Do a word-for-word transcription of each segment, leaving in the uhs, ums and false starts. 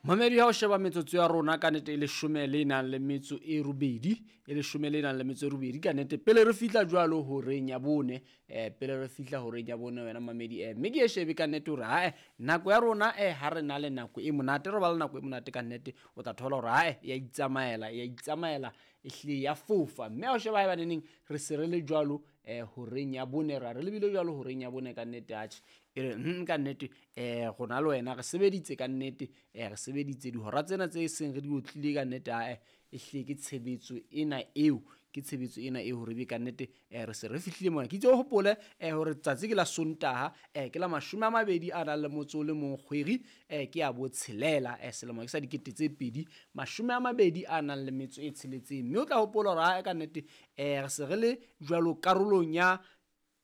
Mamedi ha o sheba metsotso ya rona ka nnete e leshome le nang le metso e robedi, e leshome le nang le metso e robedi ka nnete pele re fihla jwalo horeng ya bone, eh pele re fihla horeng ya bone wena mamedi, eh mme ke e shebe ka nnete hore hae nako ya rona eh ha re na le nako e monate, re ba le nako e monate ka nnete, o tla thola hore hae ya itsamaela, ya itsamaela e hlile ya fofa. Mme ha o sheba haeba neneng re se re le jwalo eh horeng ya bone, ra re lebile jwalo horeng ya bone ka nnete, atjhe e re mm ka nnete eh rona le wena re sebeditse ka nnete, eh re sebeditse dihora tsena tse seng re di otlile ka nnete, ae e hlile ke tshebetso ena eo, ke tshebetso ena eo hore ebe ka nnete eh re se re fihlile mona. Ke itse o hopole eh hore tsatsi ke la Sontaha, eh ke la mashome a mabedi a nang le motso o le mong kgwedi eh ke ya botshelela, eh selemo ke sa dikete tse pedi mashome a mabedi a nang le metso e tsheletseng. Mme o tla hopola hore ae ka nnete eh re se re le jwalo karolong ya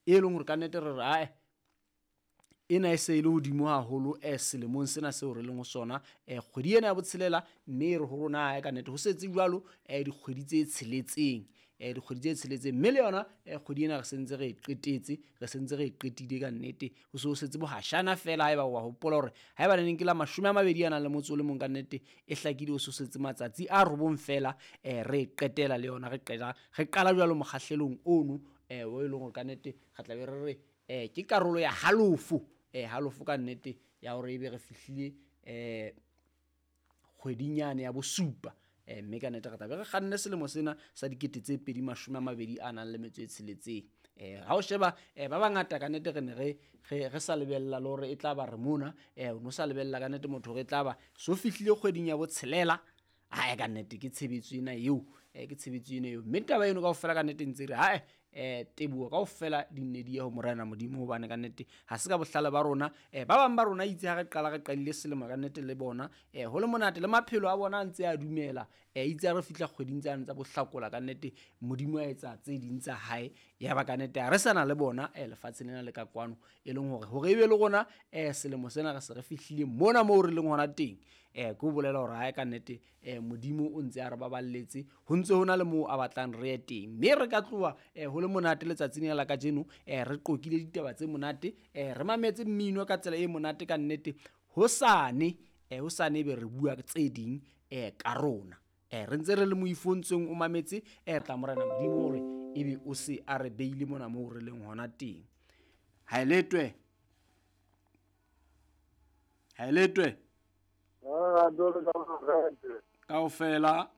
e leng hore ka nnete re re ae ena e se e le hodimo haholo eh selemong sena seo re leng ho sona, eh kgwedi ena ya botshelela, mme e re ho rona ae ka nnete ho setse jwalo eh dikgwedi tse tsheletseng, eh dikgwedi tse tsheletseng, mme le yona eh kgwedi ena re sentse re e qetetse, re sentse re e qetile ka nnete, ho se ho setse bohashana fela. Haeba wa hopola hore haeba neneng ke la mashome a mabedi a nang le motso o le mong ka nnete e hlakile, ho se ho setse matsatsi a robong fela eh re e qetela le yona, re qeta re qala jwalo mokgahlelong ono eh o e leng hore ka nnete re tla be re re eh ke karolo ya halofo, eh halofo ka nnete ya hore ebe re fihlile eh kgweding yane ya bosupa, eh mme ka nnete re tla be re kganne selemo sena sa dikete tse pedi mashome a mabedi a nang le metso e tsheletseng. Eh ha o sheba eh ba bangata ka nnete re ne re, re, re sa lebella le hore e tla ba re mona, eh o no sa lebella ka nnete motho hore e tla ba so fihlile kgweding ya botshelela. Hae ka nnete ke tshebetso ena eo, eh ke tshebetso ena eo, mme taba eno kaofela ka nnete ntse re hae eh teboho kaofela di nne di ye ho Morena Modimo, hobane ka nnete ha se ka bohlale ba rona, eh ba bang ba rona itse ha re qala re qadile selemo ka nnete le bona eh ho le monate le maphelo a bona a ntse a dumela, eh itse ha re fihla kgweding tsane tsa bohlakola ka nnete Modimo a etsa tse ding tsa hae, ya ba ka nnete ha re sana le bona eh lefatsheng lena le ka kwano, e leng hore hore ebe le rona eh selemo sena re se re fihlile mona moo re leng hona teng, eh ke ho bolela hore hae ka nnete eh Modimo o ntse a re baballetse, ho ntse ho na le moo a batlang re ye teng, mme re ka tloha eh ho le monate letsatsing lena la kajeno, eh re qoqile ditaba tse monate, eh re mametse mmino ka tsela e monate ka nnete, hosane eh hosane ebe re bua tse ding eh ka rona, eh re ntse re le moifontsong o mametse eh tla Morena Modimo hore ebe o se a re beile mona moo re leng hona teng. Ha e letwe, ha e letwe Ah, dole ka morate. Kaofela.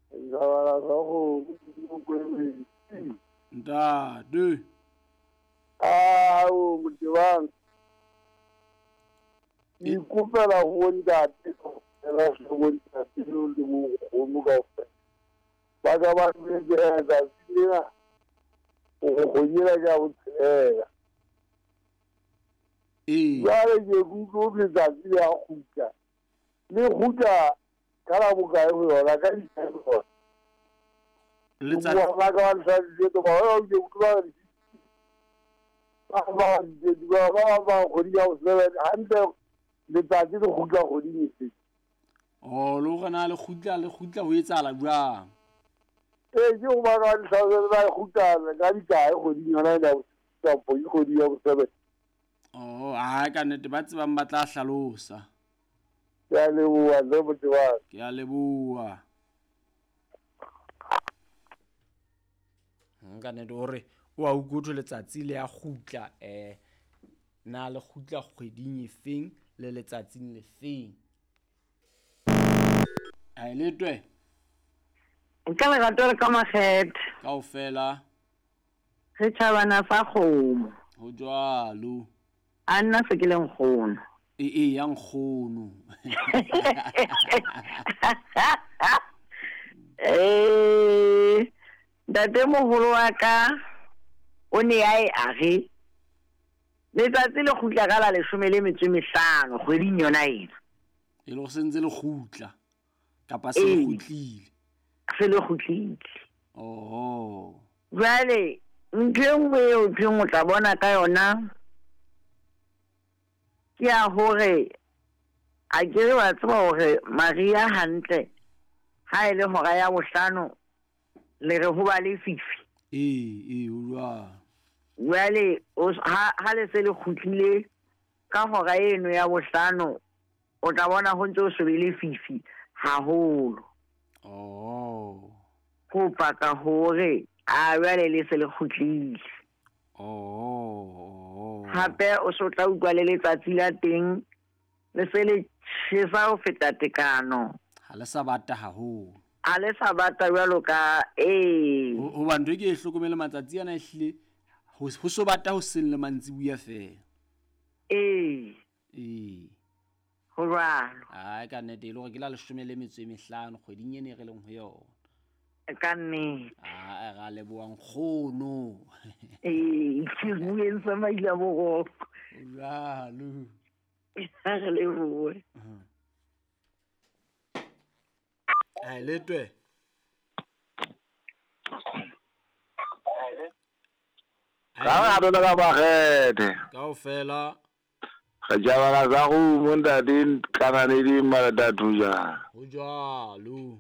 Nzabala sa go kwele. Ntate. Ah, o motebang. Ke ikopela ho ntate, ra ho ntate le mo go kaofela. Ba ka ba le tsatsi lena. O go nyela ka botsela. Ee. Jwale ke utlwe letsatsi le a kgutla. Le kgutla ka la bokae ho yona ka ditjhelete. Letsatsi ba ka ba letsatsi le ba ba ke utlwa ba ba ba ba ba kgwedi ya seven hantle letsatsi le kgutla kgweding efe. Oh, le hore na le kgutla le kgutla ho etsahala jwang? Ee, ke ho ba ka letsatsi ba kgutla ka dikae kgweding yona ya kampo ke kgwedi ya seven. Oh, ha ka nnete ba tsebang ba tla hlalosa. Ke a leboha le motebang. Ke a leboha. Nka nnete hore o a utlwe letsatsi le a kgutla eh na le kgutla kgweding efeng le letsatsing lefeng. Ha e letwe. Ka lerato le ka makgethe. Kaofela. Re tjhabana fa kgomo. Ho jwalo. A nna se ke le nkgono. E e ya nkgono. Eh ntate moholo wa ka o ne a e a re letsatsi le kgutla ka la leshome le metso e mehlano kgweding yona ena. E le go sentse le kgutla kapa se le kgutlile. Se le kgutlile. Oho. Jwale ntho e nngwe eo thweng o tla bona ka yona ke ya hore a ke re wa tseba hore Maria hantle ha e le hora ya bohlano le re ho ba le fifi. Ee, ee, o jwalo. Jwale ha ha le se le kgutlile ka hora eno ya bohlano O tla bona ho ntse ho so be lefifi haholo. Oh. Ho paka hore a jwale le se le kgutlile. Oh. Hape o so tla utlwa le letsatsi la teng le se le tjhesa ho feta tekano. Ha le sa bata haholo. Ha le sa bata jwalo ka ee. Hoba ntho e ke e hlokomele matsatsi ana ehlile ho so bata ho seng le mantsibuya feela. Ee. Ee. Ho jwalo. Ai ka nnete e le hore ke la leshome le metso e mehlano kgweding ena e re leng ho yona. Ka nnete. Ah, ra leboha nkgono. Ee, ke bueng sa maila boroko. Jwalo. Ha re lebohe. Ai letwe. Ka ra dona ka bagete. Kaofela. Re jabala za go montate kana le di malatatu ja. Ho jwalo.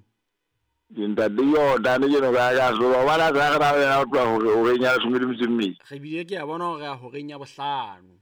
Ntate yo dane ke no ka ka so ba la sa ra ra tloha hore o re nya leshome le metso e mmedi. Re bile ke a bona hore a horeng ya bohlano.